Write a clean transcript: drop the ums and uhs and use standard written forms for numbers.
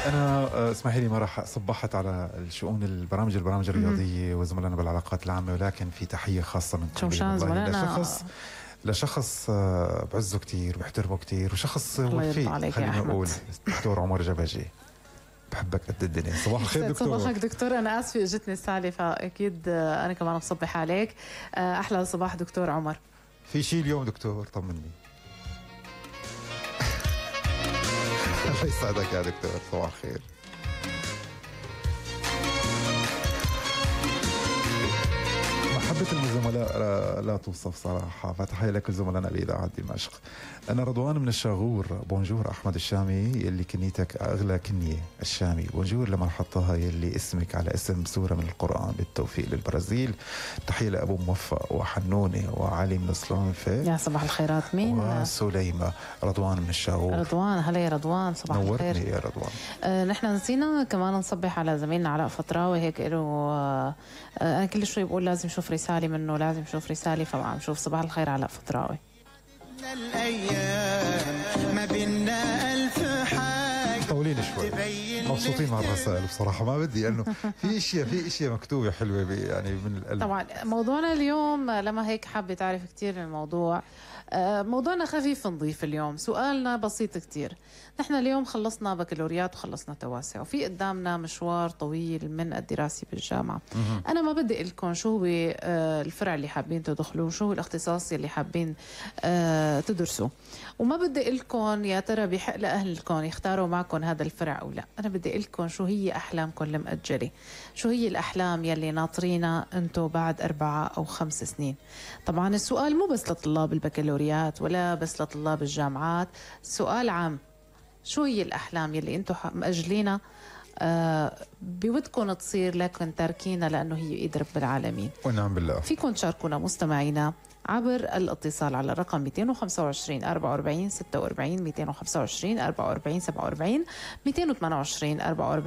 أنا اسمحي لي ما راح صبحت على الشؤون البرامج الرياضية وزملائنا بالعلاقات العامة، ولكن في تحية خاصة من لشخص بعزه كتير بحترمه كتير وشخص وفي خلينا نقول دكتور عمر جبجي. بحبك قد الدنيا. صباح الخير دكتور. صباحك دكتور. أنا آسفة اجتني السالفة، فأكيد أنا كمان بصبح عليك. أحلى صباح دكتور عمر. في شيء اليوم دكتور؟ طمني. الله يسعدك يا دكتور. صباح الخير. محبة الزملاء لا توصف صراحة، فتحية لك زملائنا بإذاعة دمشق. أنا رضوان من الشاغور. بونجور أحمد الشامي يلي كنيتك أغلى كنية الشامي. بونجور لمرحبتها يلي اسمك على اسم سورة من القرآن. بالتوفيق للبرازيل. تحية لأبو موفق وحنونة وعلي من الصلانفة. يا صباح الخيرات. مين؟ وسليمة. رضوان من الشاغور. رضوان. هلا يا رضوان. صباح الخير. نورتني يا رضوان. نحن نسينا كمان نصبح على زميلنا علاء فطراوي. هيك له أنا كل شوي بقول لازم شوف رسالة منه، لازم شوف رسالة، فعم شوف. صباح الخير علاء فطراوي. الأيام ما بينا ألف حاجة. طولين شوي. مبسوطين مع الرسائل بصراحة، ما بدي لأنه في اشياء مكتوبة حلوة يعني من القلب. طبعا موضوعنا اليوم لما هيك حابة تعرف كتير الموضوع. موضوعنا خفيف نظيف اليوم. سؤالنا بسيط كتير. نحن اليوم خلصنا بكالوريات وخلصنا تواسع، وفي قدامنا مشوار طويل من الدراسة بالجامعة. أنا ما بدي لكم شو هو الفرع اللي حابين تدخلوه، شو هو الاختصاص اللي حابين تدرسوا، وما بدي لكم يا ترى بحق لأهلكم يختاروا معكم هذا الفرع أو لا. أنا بدي لكم شو هي أحلامكم المؤجلة، شو هي الأحلام يلي ناطرينا أنتوا بعد 4 أو 5 سنين. طبعا السؤال مو بس لطلاب البكالوريات ولا بس لطلاب الجامعات، سؤال عام. شو هي الأحلام يلي أنتوا مأجلينا بودكم تصير لكن تاركينا لأنه هي إيد رب العالمين. ونعم بالله. فيكم تشاركونا مستمعينا عبر الاتصال على الرقم 225 44 46 225 44 47 228 44